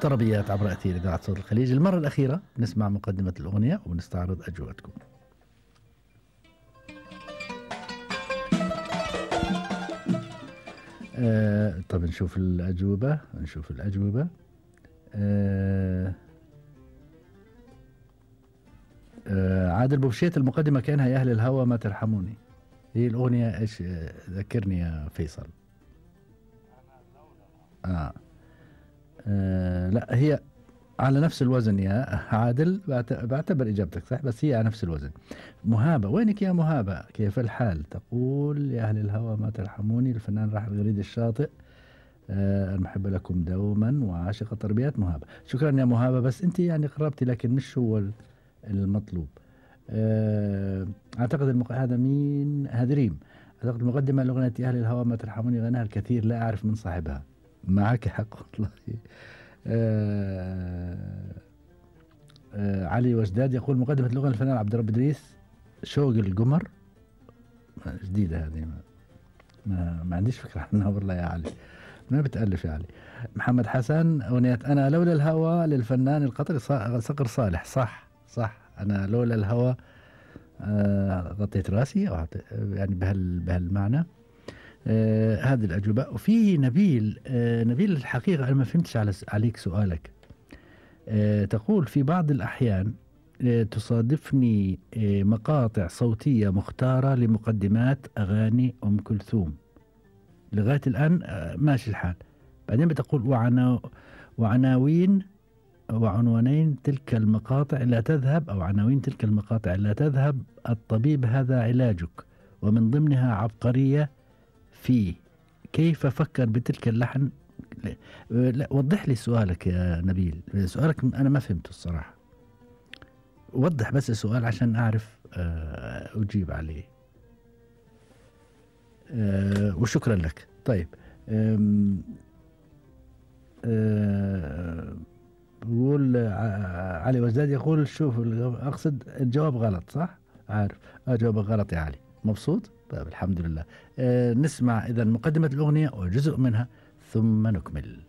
طربيات عبر أثير إذاعة صوت الخليج. المرة الأخيرة نسمع مقدمة الأغنية ونستعرض أجوبتكم. طب نشوف الأجوبة. عادل بوشيت المقدمة كانها يا أهل الهوى ما ترحموني. هي الأغنية إيش؟ ذكرني يا فيصل. لا هي على نفس الوزن يا عادل. بعتبر إجابتك صح بس هي على نفس الوزن. مهابة، وينك يا مهابة؟ كيف الحال؟ تقول يا أهل الهوى ما ترحموني، الفنان راحل غريد الشاطئ. المحبة لكم دوما وعاشق التربيات مهابة. شكرا يا مهابة، بس أنت يعني قربتي لكن مش هو المطلوب. أعتقد هذا مين؟ هذا ريم. أعتقد المقدمة لأغنية يا أهل الهوى ما ترحموني غناها الكثير لا أعرف من صاحبها. معك حق والله. علي وجداد يقول مقدمة الأغنية الفنان عبد الرب إدريس شوق القمر. جديدة هذه، ما عنديش فكرة عنها والله يا علي. ما بتألف يا علي. محمد حسن أغنية أنا لولا الهوى للفنان القطري صقر صالح. صح أنا لولا الهوى. غطيت راسي أو يعني بهالمعنى. هذه الأجوبة. وفي نبيل. نبيل الحقيقة أنا ما فهمتش عليك سؤالك. تقول في بعض الأحيان تصادفني مقاطع صوتية مختارة لمقدمات أغاني أم كلثوم. لغاية الآن ماشي الحال. بعدين بتقول وعنوانين تلك المقاطع لا تذهب، أو عناوين تلك المقاطع لا تذهب الطبيب هذا علاجك، ومن ضمنها عبقرية في كيف فكر بتلك اللحن. لا وضح لي سؤالك يا نبيل. سؤالك أنا ما فهمته الصراحة. وضح بس السؤال عشان أعرف أجيب عليه. وشكرا لك. طيب بقول علي وزداد يقول شوف أقصد الجواب غلط صح؟ عارف جوابك غلط يا علي. مبسوط؟ طيب الحمد لله. نسمع إذا مقدمة الأغنية وجزء منها ثم نكمل.